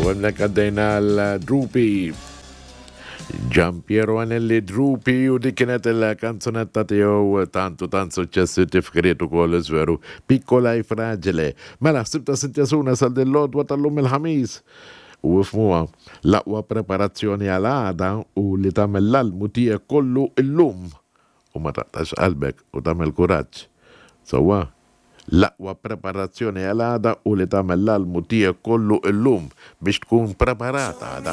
Hemmhekk għaddejna l-Drupi. Gian Piero Anelli Drupi u dik kienet il-kanzunetta tiegħu tant u tant suċċessi tifkiriet ukoll żveru Piccola e Fragile. Mela ħsibta Cynthia Suna sal din l-għodwa tal-lum il-Ħamis. U ifhmuha, l-aqwa preparazzjoni għal għada hu li tagħmel l-almu tiegħek kollu illum u ma taqtax qalbek u tagħmel kuraġġ. Sewwa? L-aqwa preparazzjoni għal għada hu li tagħmel l-almu tiegħek kollu illum biex tkun preparat għada.